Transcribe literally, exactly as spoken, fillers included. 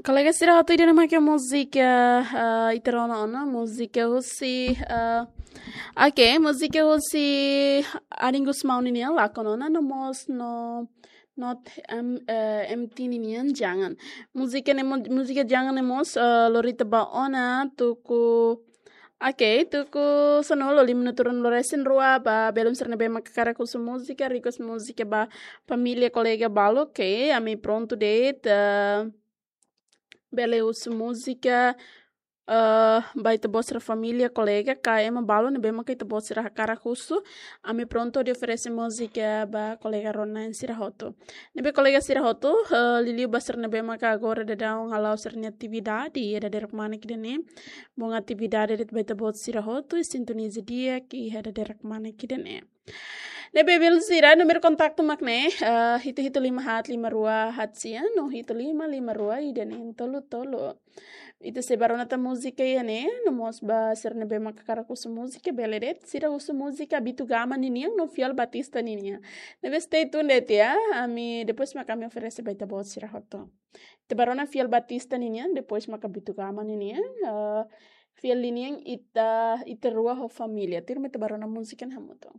Kolega sira hotu, ida-ne'e mak múzika, ah, ita rona ona, múzika husi, ah, oke, múzika husi Arin Gusmão nian, Lakon Ona, no mós no, no M, eh, M T nian, Jangan. Múzika ne'e mo-, múzika Jangan ne'e mós, ah, lori ita ba ona, tuku, oke, tuku sanulu, lima minutu rua-nulu resin rua, ba belun sira ne'ebé mak hakarak husu múzika, request múzika ba família, kolega balu, oke, ami prontu de'it, ah, bele husu múzika, eh, ba ita-boot sira família, kolega, ka ema balu ne'ebé mak ita-boot sira hakarak husu, ami prontu hodi oferese múzika ba kolega rona-na'in sira hotu. Ne'ebé kolega sira hotu, eh, liuliu ba sira ne'ebé mak agora daudaun hala'o sira-nia atividade iha dadeer-kmanek ida-ne'e. Bom atividade de'it ba ita-boot sira hotu, i sintoniza di'ak iha dadeer-kmanek ida-ne'e. Ne'ebé belun sira, númeru kontaktu mak ne'e, eh, hitu hitu lima haat lima rua haat sia, no hitu lima lima rua ida neen tolu tolu. Ita sei bá rona tan múzika iha ne'e, no mós ba sira ne'ebé mak hakarak husu múzika, bele de'it, sira husu múzika Bitu Gama ninian, no Fiel Batista ninian. Ne'ebé stay tuned de'it ya, ami depois mak ami oferese ba ita-boot sira hotu. Ita bá rona Fiel Batista ninian, depois maka Bitu Gama ninian, eh, Fiel ninian ita, ita rua ho família. Tuirmai ita bá rona múzika ne'e hamutuk.